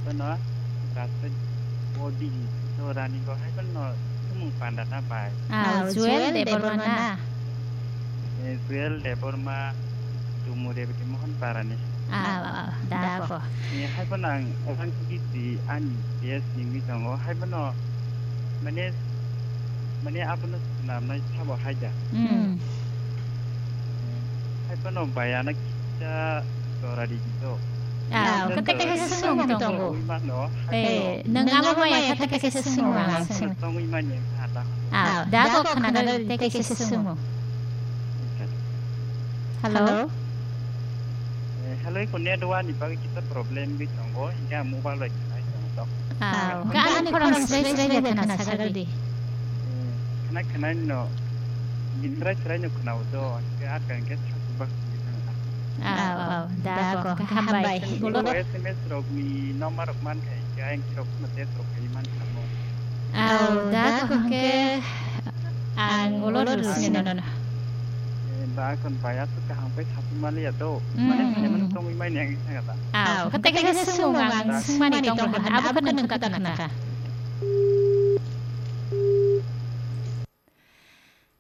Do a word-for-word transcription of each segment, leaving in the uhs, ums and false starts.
Bono Rasta Bodi Dorani go hai bono sumung panda na bai. Ah, Juel Debbarma na? Eh, Juel Debbarma, Tumure Bidi Mohon Parani. Ah, ah, da ko. Eh, hai bono ang orang kiti ani bes ningwi tongo. Hai bono mane, mane abono swnamnai sabo hai da. Hmm. Eh, hai bono bayana kita Dorani go. Ah, kete kete sumung tongo. Mano, eh, nang amo maya kata kese sumung ang sumung. Tongwi manya kata. Ah, da ko khana da te kese sumung. Hello? Eh, hello, ko network ni bagwi kisa problem bi tongo, hingke ang mobile bai khnai tongo to. Ah, ka ani khorang srai srai de khana sagar di. Eh, khana khana no, ni srai srai no khana udo, hingke ar ka hingke thak bak. Ah, ah, da ko, ka hambai. Ko S M S rok ni number rok man khai, hingke ang rok ma test rok khai man khamo. Au, da ko hwnkhe ang ulo rwsino nono. Eh, ba kon bai aswk kaham pai sasu maliya to. Mm. Mane, mane, mane tongwi mai nang thanga ta. Au, kata kata sumung ang sumani tong abo kono kata khana kha.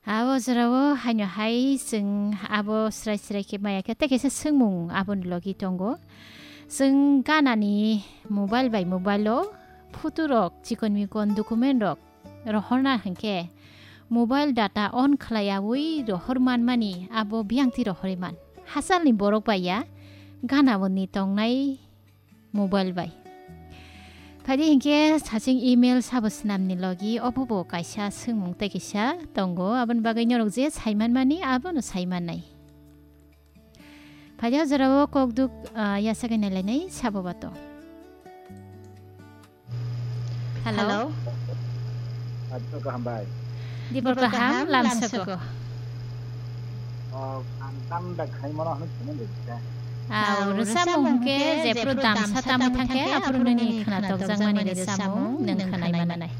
Abo jorao haino hai chwng abo srai srai khe maya khe tei kaisa swngmung aboni logi tongo. Chwng ganani mobile bai mobile o photo rok, chikon mikon document rok rohorna hwnkhe mobile data on khlaiyaui rohor manmani abo biyangtwi rohorwi man. Hachalni borok bai ya ganaboni tongnai mobile bai. Phaidi hinkhe saching email sabo swnamni logi obobo kaisa swngmung tei kisa tongo, aboni bagwi norok je saimanmani abono saimannai. Phaidi o jorao kokduk, ah, yasagwi nailainai sabo bato. Hello. Hello. Acho kaham bai. Dibor kaham, lamsoko. Oh, ang tam da khai mano hanu chini de cha. Ah, rwchapmung hwnkhe jephru damsa tamwi thangkhe aphuru nini khwnatok jakmani rwchapmung nwng khwnai manai.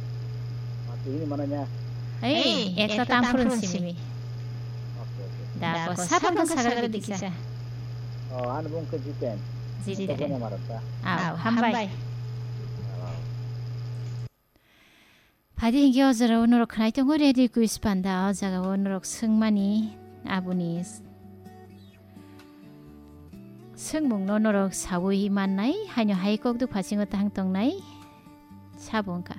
Ah, tini manai na. Ei, ekta tamphuru simi. Okay, okay. Da ko sapang ko sagar di kisa. Oh, ani bung ke Jiten. Jiten. Ko ne marata. Au, hambai. Phaidi hinkhe o jorao norok khwnai tongo radio quiz panda, o jagao norok swngmani aboni s-, swngmungno norok saui mannai, haino hai kokduk phasingo tahang tongnai sabo wngkha.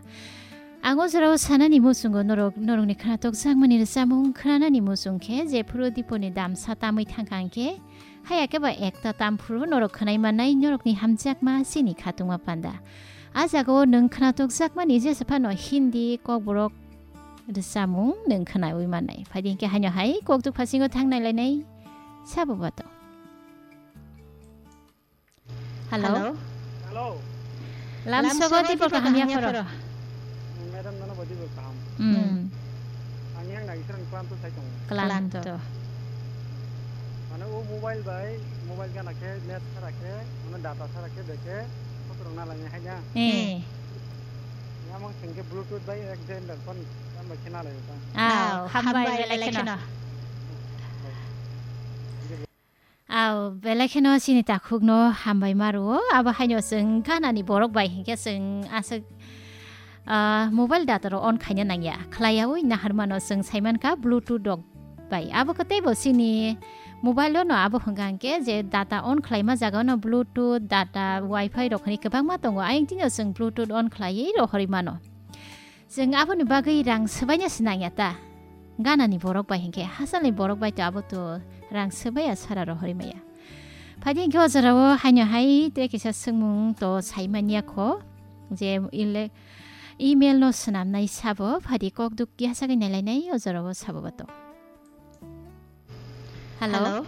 Ang o jorao sanani muchungo norok, norokni khwnatok jakmani rwchapmung khwnanani muchung khe jephuru diponi damsa tamwi thangkha hwnkhe, haya khe ba ekta tamphuru norok khwnai mannai norokni hamjakma chini khatungma panda. A jagao nwng khwnatok jakmani jesa phano Hindi, Kokborok rwchapmung nwng khwnaui mannai. Phaidi hinkhe haino hai kokduk phasingo thang nailainai sabo bato. Hello? Hello. Hello. Lamsogo tibor kaham yapharo. Madam, nono bo tibor kaham. Hmm. Ang yang nai israng klanto sai tongo. Klanto. Mane o mobile bai, mobile gana khe, net sara khe, mane data sara khe, beke, kotorok na lai hai na. Eh. Yamang sengke Bluetooth bai ek jen dak kon, tam bai khe na lai ta. Au, hambai belai kheno. Au, belai kheno chini takhukno hambai ma rwo. Abo haino chwng ganani borok bai hinkhe chwng aswk, ah, mobile data rok on khaina nangya. Khlaiyaui naharmano chwng saimankha Bluetooth rok bai. Abo khe teibo chini mobile-o no abo hwnkha hinkhe je data on khlaima jaga-o no Bluetooth, data, Wi-Fi rok hinwi kwbangma tongo. Ayang tino chwng Bluetooth on khlaiwi rohorwi mano. Chwng aboni bagwi rang swbaina se nangya ta. Ganani borok bai hinkhe hachalni borok bai to abo to rang swbaiya sara rohorwi maya. Phaidi hinkhe o jorao haino hai tei kisa swngmung to saimanya kho je ile-, email no swnamnai sabo phaidi kokduk yasagwi nailainai o jorao sabo bato. Hello? Hello?